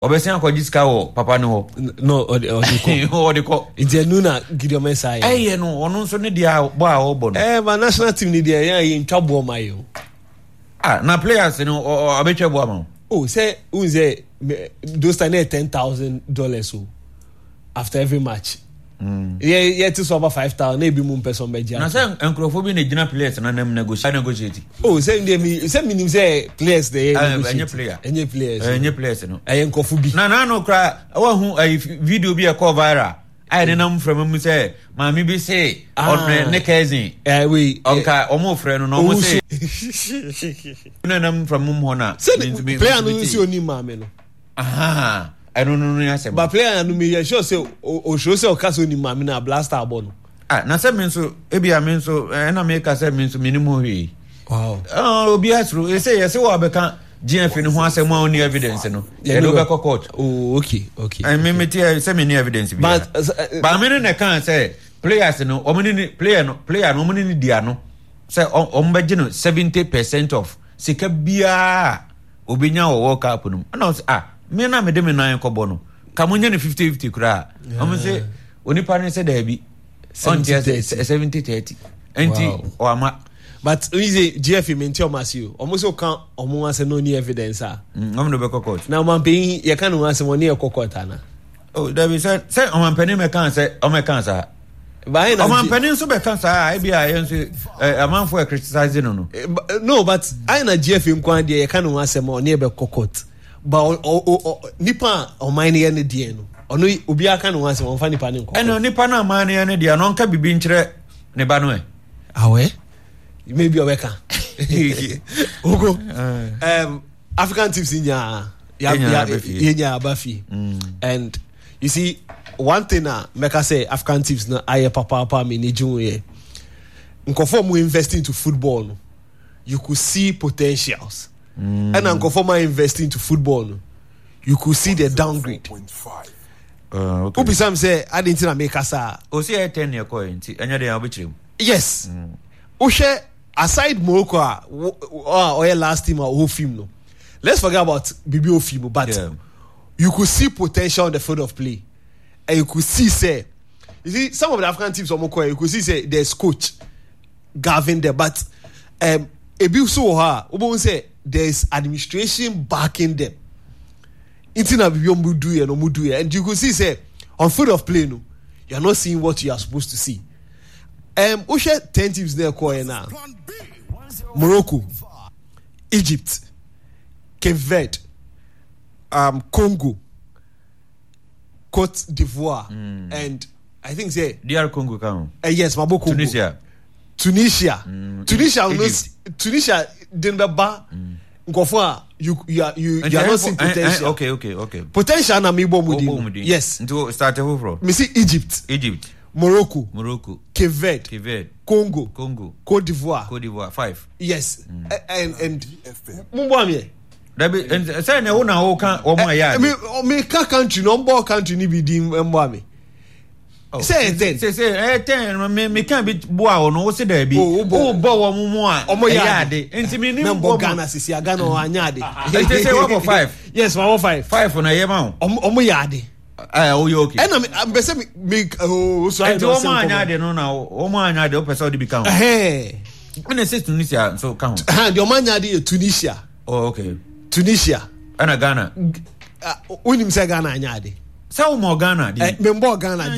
Ɔbɛsen akɔgye sika wɔ papa no hɔ. No, ɔde ɔde kɔ. Ɔde kɔ. Nti ɛnu na Gideon Mensah yɛ. Ɛyɛ no, ɔno nso ne deɛ bɔ a ɔbɔ no. Ɛɛ ba national team ni deɛ yɛn yɛ ntwa boɔ ma yɛ o. Ah, na players no ɔbɛtwa boɔ ama o. Oh, sɛ n sɛ those time na yɛ $10,000 o after every match. Mm. Yɛ yɛ ti so aba 5,000 na ebi mu mpɛ sɛ ɔmbɛ gye. Na sɛ nkurɔfoɔ bi na gyina players na nam negotiate. Oh, sɛ ndeɛ mi sɛ mi nim sɛ players na yɛ negotiate. Ɛnyɛ player. Ɛnyɛ players. Ɛnyɛ players no. Ɛyɛ nkurɔfoɔ bi. Na n'ano kora wahu ɛyi video bi ɛkɔ viral a yɛde nam frama mu sɛ maame bi se ɔne ne cousin. Ɛɛ Ɔnka ɔmo frɛ no na ɔmo se. Na nam frama mu hɔ na. Sɛ player no nsi onim maame no. Ahaa ɛno no no asɛm. Ba player no mi yɛ sure sɛ osuro sɛ ɔka sɛ onim maame na blaster abɔ no. Ah na sɛ mi nso ebi a mi nso ɛna mi ka sɛ mi nso mi nim ho hwee. Wow. Ah obi asuro ese yɛ sɛ wɔ abɛka GFA no ho asɛm a ɔni evidence no. Yɛde wobɛkɔ court. Oh okay okay. Ɛmi mi ti sɛ mi ni evidence bi. But ba mi no na ɛka sɛ players no wɔn ne player no player no wɔn ne ne di ano sɛ wɔn bɛgye no 70% of sika biara. Obenya wɔ World Cup no mu. Ɛna ɔsɛ ah me na mede me nan kɔbɔ no. Ka mo nyɛ no 50-50 koraa. Ɔmo sɛ onipa no sɛ daabi. Ɔnte ase 70-30. Nti ɔama. But oyi sɛ GFA mi nti ɔmo ase o. Ɔmo sɛ ɔka ɔmo asɛm na ɔni evidence a. Ɔmo de bɛkɔ court. Na ɔmanpanyin yɛka ne ho asɛm ɔne ɛkɔ court ana? Oh, dabi sɛ sɛ ɔmanpanin mɛka sɛ ɔmɛka saa. Ɔmanpanin nso bɛka saa ebi a yɛn nso amanfo ɛ criticize no no. No but ayɛ na GFA nko ara deɛ yɛka ne ho asɛm a ɔne ɛbɛkɔ court. Ba nipa a ɔman no yɛ ne deɛ no ɔno obiara ka ne ho asɛm ɔnfa nipa no nkɔ. Ɛna nipa no ɔman no yɛ ne deɛ no ɔnka biribi nkyerɛ ne ba no ɛ. Awɛ maybe ɔbɛka. Ogo. African teams nyinaa yɛnya aba fie and you see one thing a mɛka sɛ African teams no ayɛ papaapa a m'ani gye ho yɛ nkurɔfoɔ mu invest into football no you could see potentials ɛna nkurɔfoɔ mu invest into football no you could see the downgrade. Wobisa m sɛ ade nti na meka saa. Ɔsi ɛyɛ tɛn ne ɛkɔɛ nti ɛnyɛ deɛ wobɛkyerɛ mu. Yes. Wohwɛ aside Morocco a a ɔyɛ last team a ɔwɔ film no let's forget about biribi ofi mu but yeah. You could see potential on the field of play and you could see say you see some of the African teams ɔmo kɔ you could see say there's coach Gavin there but um, ebi nso wɔ hɔ a wobɛhu sɛ there's administration backing them nti na biribi ɔmo do yɛ no ɔmo do yɛ and you could see say on field of play no you are not seeing what you are supposed to see. Um, wohwɛ 10 teams na ɛkɔɔɛ no a, Morocco, Egypt, Cape Verde, um, Congo, Cote d'Ivoire, and I think say DR Congo ka ho. Yes, mabɔ Congo. Tunisia. Tunisia. Tunisia no Tunisia de no bɛba nkurɔfoɔ a you you are you, you are not seeing potential. Okay. Potential na mebɔ mu din. Yes. Nti start foforɔ. Mesi Egypt. Egypt. Morocco. Morocco. Cape Verde. Cape Verde. Congo. Congo. Cote d'Ivoire. Cote d'Ivoire five. Yes. And mo bɔ ameɛ. Dabi sɛ na wo na wo ka wɔn a yɛ ade. Mi ka country na ɔmbɔ country ni bi din mbɔ ame. Sɛ ɛyɛ 10. Sɛ ɛyɛ 10 mi ka bi boa wɔn wo se daabi. Wo bɔ wɔn mu a ɛyɛ ade. Nti mi ni mbɔ bɔ Ghana sisi a Ghana ɔanyɛ ade. Nti sɛ wɔbɔ five. Yes, wɔbɔ five. Five na ɛyɛ ma wo. Ɔmo yɛ ade. Ɛɛ o yɛ okay. Ɛna mi mpɛ sɛ mi mi ooo so ayɛ dɔn sɛ nkɔmɔ. Nti wɔn anya ade no na wɔn anya ade o pɛ sɛ ɔde bi ka ho. Ɛna sɛ Tunisia nso ka ho. Deɛ wɔn anya ade yɛ Tunisia. Oh okay. Tunisia. Ɛna Ghana. Wonim sɛ Ghana anya ade. Sɛ wo mɔ Ghana di. Mɛ mbɔ Ghana di.